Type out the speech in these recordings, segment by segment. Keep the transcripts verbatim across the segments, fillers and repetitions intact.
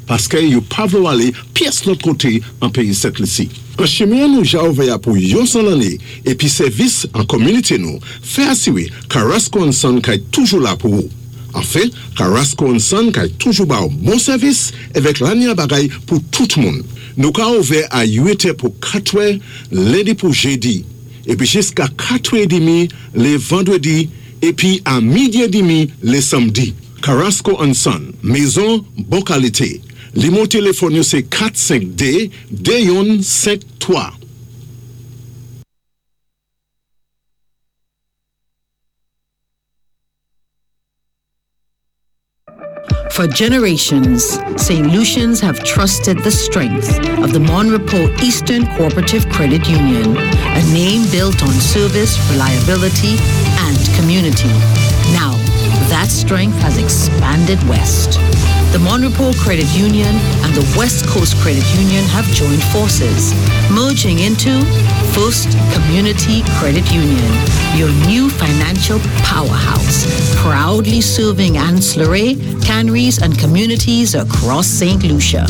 Paské yo pa vlé ou alé pyès lòt koté an péyi Sent Lisi. An chimen nou ja ouvè pou yon san lanné épi sèvis an kominité nou, fè asiwé Carrasco and Son kay toujou la pou ou. Anfen, Carrasco and Son kay toujou ba ou bon sèvis avèk lanya bagay pou tout moun. Nou ka ouvè a uit è pou katwè lendi pou jédi, épi jiska katwè édmi lé vandwédi, épi a midi édmi lé sanmdi. Carrasco and Son, mézon bon kalité. Nimewo téléfòn yo sé kat senk de de youn senk twa. For generations, Saint Lucians have trusted the strength of the Mon Repos Eastern Cooperative Credit Union, a name built on service, reliability, and community. Now, that strength has expanded west. The Mon Repos Credit Union and the West Coast Credit Union have joined forces, merging into First Community Credit Union, your new financial powerhouse, proudly serving Anse La Raye, Canaries, and communities across Saint Lucia.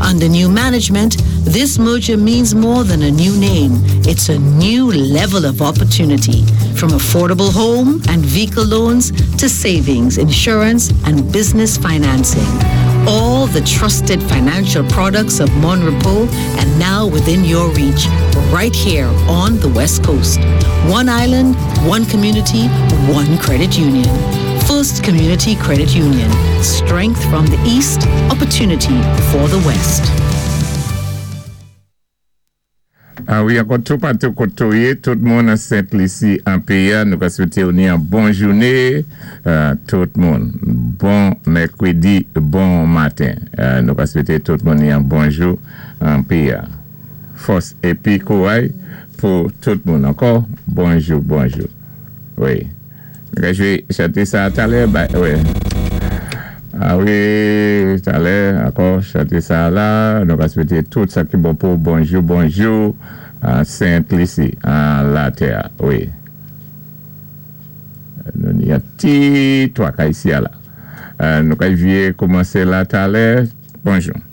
Under new management, this merger means more than a new name. It's a new level of opportunity. From affordable home and vehicle loans to savings, insurance, and business financing. All the trusted financial products of Mon Repos and now within your reach, right here on the West Coast. One island, one community, one credit union. First Community Credit Union. Strength from the East, opportunity for the West. Ah wi, ankò tou patou koté ou yé, tout moun an Sent Lisi an péyi, nou ka swété ou ni an bon jouné, euh, tout moun. Bon mèkwédi, bon maten. Euh, nou ka swété tout moun ni an bon jou an péyi. Fòs épi kouray pou tout moun. Ankò, bonjou, bonjou. Wi. Nou ka jwé chanté sa talè, ba, wi. Ah wi, talè, ankò, chanté sa la. Nou ka swété tout sa ki bon pou bonjou, bonjou, a Sent Lisi, an latè, wi. Nou ni an ti twaka isi a la. Euh, nou ka vyé koumansé la talè. Bonjou.